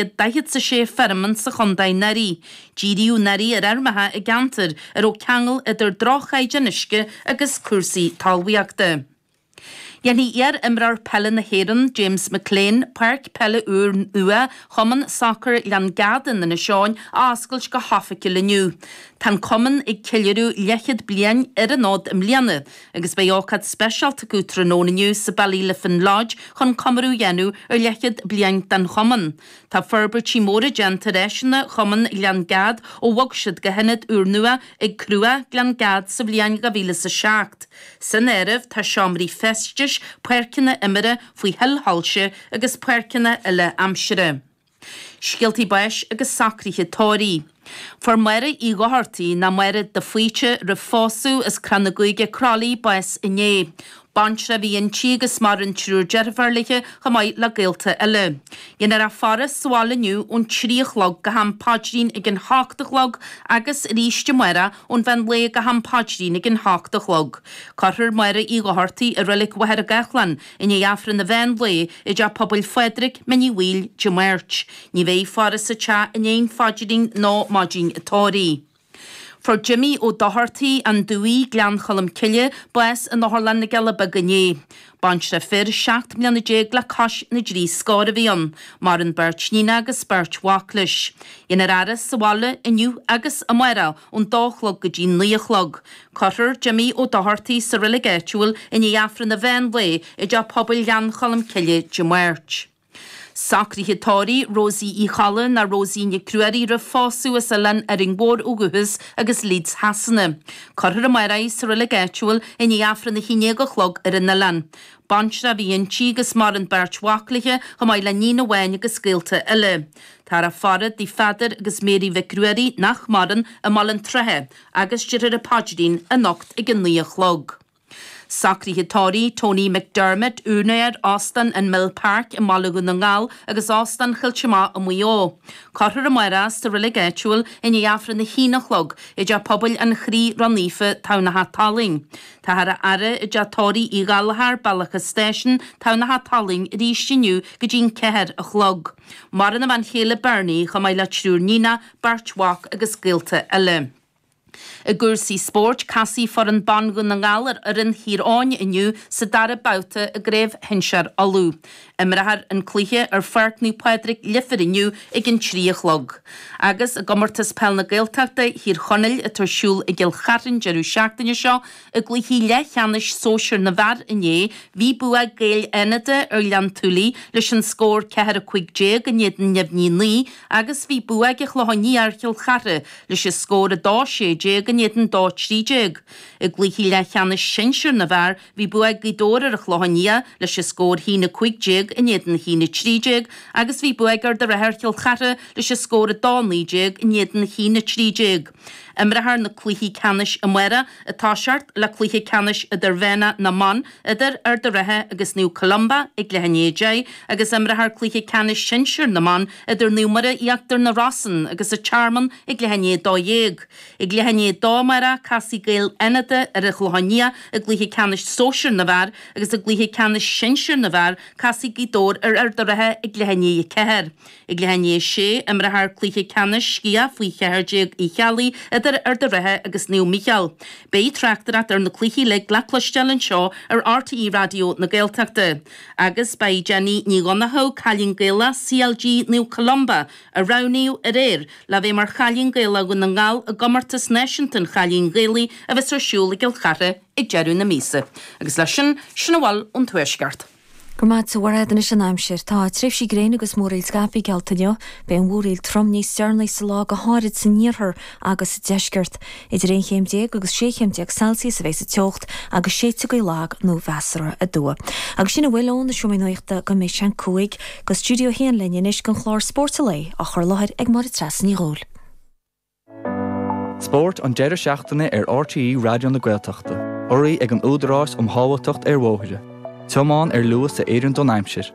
146 feirm sa chontae anuraidh. Díríodh anuraidh ar fheirmeacha i gceantair a raibh ceangal idir droch-chaighdeán uisce agus cúrsaí talmhaíochta. Déanfaidh iar-imreoir peile na hÉireann, James McClean, páirc peile úr nua Chumann Sacair Ghleann Gad in Inis Eoghain a oscailt go hoifigiúil inniu. Tá an cumann ag ceiliúradh leathchéad bliain ar an fhód i mbliana agus beidh ócáid speisialta acu tráthnóna inniu sa Ballyliffin Lodge chun comóradh a dhéanamh ar leathchéad bliain den chumann. Tá forbairtí móra déanta ar áiseanna Chumann Ghleann Gad ó bhog siad go hionad úrnua ag Cruach, Gleann Gad sa bhliain 2007. San áireamh tá seomraí feistis, páirceanna imeartha faoi thuilshoilse agus páirceanna uile-aimsire. Scéaltaí báis agus socruithe tórraimh. Fuair Máire Uí Dhochartaigh, nó Máire de Faoite, roimh phósadh, as Crann na Gaoithe, Croithlí, bás inné. Baintreach a bhí inti agus maireann triúr deirfiúr léi chomh maith le gaolta eile. Déanfar í a faire sa bhaile inniu ón 3 a chlog go ham paidrín ag an hocht a chlog agus arís amárach ón mheán lae go ham paidrín ag an hocht a chlog. Cuirfear Máire Uí Dhochartaigh i Reilig Mhachaire Gathlán i ndiaidh Aifreann an mheán lae i dTeach Pobail Phádraig, Mín Uí Bhaoill, Dé Máirt. Ní bheidh faire sa teach i ndiaidh an phaidrín ná maidin an tórraimh. Fuair Jimmy Ó Dochartaigh, An Dumhaigh, Gleann Cholm Cille, bás in Otharlann na gCealla Beaga inné. Baintreach fir 17 mbliana le cois na dtrí scór a bhí ann. Maireann beirt níonach agus beirt mhac leis. Déanfar a fhaire sa bhaile inniu agus amárach ón dó a chlog go dtí naoi a chlog. Cuirfear Jimmy Ó Dochartaigh sa reilig áitiúil i ndiaidh Aifreann an mheán lae i dTeach Pobail Ghleann Cholm Cille Dé Máirt. Socruithe tórraimh Rosie Uí Cholla ná Rosie Nic Ruairí roimh phósadh as Oileán Árainn Mhór ó dhúchas agus Leeds Shasana. Cuirfear amárach í sa reilig áitiúil i ndiaidh Aifreann a haon déag a chlog ar an oileán. Baintreach a bhí inti agus maireann beirt mhac léi chomh maith le níon amháin agus gaolta eile. Táthar á faire i dtigh Pheadair agus Mary Mhic Ruairí nach maireann i mBaile an tSratha agus déarfar an paidrín anocht ag a naoi a chlog. Socruithe tórraimh Tony McDermott, úinéir Óstán an Mill Park i mBaile Dhún na nGall agus Óstán Choillte Mach i Maigh Eo. Cuirfear amárach sa reilig áitiúil i ndiaidh Aifreann a haon a chlog i dTeach Pobail an Chroí Ró-Naofa, Tamhnach Talainn. Táthar á fhaire i dTeach Tórraimh Uí Ghallchóir, Bealach an Stáisiúin, Tamhnach Talainn arís inniu go dtí'n 4 a chlog. Maireann a bhean chéile Bernie chomh maith le triúr níonach, beirt mhac agus gaolta eile. I gcúrsaí spóirt, casfaidh foireann ban Dhún na nGall ar fhoireann Thír Eoghain inniu sa dara babhta i gCraobh Shinsir Uladh. Imreofar an cluiche ar Pháirc Naomh Pádraig, Leifear inniu ag an 3 a chlog. Agus i gComórtas Peil na Gaeltachta Thír Chonaill atá ar siúl i gCill Charthain deireadh seachtaine seo, I gcluichí leathcheannais sóisir na bhfear inné, bhí bua ag Gaeil Fhánada ar Ghleann tSúilí leis an scór 4 15 in éadan neamhní 9 agus bhí bua ag an Chlochán Liath ar Chill Chartha leis an scór 2 16 in éadan 2 13. I gcluichí leathcheannais sinsir na bhfear, bhí bua ag Gaoth Dobhair ar an Chlochán Liath leis an scór 1 15 in éadan 1 13 agus bhí bua ag Ard an Rátha ar Chill Chartha leis an scór 2 19 in éadan 1 13. Imreofar na cluichí ceannais amárach, ag toiseacht le cluiche ceannais idirmheánach na mban idir Ard an Rátha agus Naomh Columba ag leath i ndiaidh 10 agus imreofar cluiche ceannais sinsir na mban idir Naomh Muire Íochtar na Rosann agus an Tearmann ag leath i ndiaidh 12. Ag leath i ndiaidh 2 amárach, casfaidh Gaeil Fhánada ar an Chlochán Liath i gcluiche ceannais sóisir na bhfear agus i gcluiche ceannais sinsir na bhfear, casfaidh Gaoth Dobhair ar Ard an Rátha ag leath i ndiaidh 4. Ag leath i ndiaidh a sé, imreofar cluiche ceannais sciath faoi 14 Uí Cheallaigh idir Ard an Rátha agus Naomh Mícheál. Beidh tráchtaireacht ar na cluichí uilig le cloisteáil anseo ar RTÉ Raidió na Gaeltachta. Agus ba í Jenny Ní Dhonnchadha, cailín Gaelach CLG Naomh Columba, a roghnaíodh aréir le bheith mar Chailín Gaelach Dhún na nGall i gComórtas Náisiúnta an Chailín Ghaelaigh a bheas ar siúl i gCill Chartha ag deireadh na míosa. Agus leis sin, sin a bhfuil ón Tuaisceart. Go raibh maith agat a Mhairéad. Anois an aimsir. Tá tréimhsí gréine agus múraíl scaipthe geallta inniu. Beidh an mhúraíl trom níos deireanaí sa lá, go háirid san iarthar agus sa deisceart. Idir 11 chéim agus 16 chéim Celsius a bheidh sa teocht agus séidfidh gaoth lag nó mheasartha aduaidh. Agus sin a bhfuil ó na Seomraí Nuachta go mbeidh sé an 5 go Stiúideo 1 linn anois don chlár Spórt an Lae á chur i láthair ag Máire Treasa Ní Dhubhghaill. Spórt an deireadh seachtaine ar RTÉ Raidió na Gaeltachta, urraithe ag an Údarás um Shábháilteacht ar Bhóithre. Tiomáin ar luas a oireann don aimsir.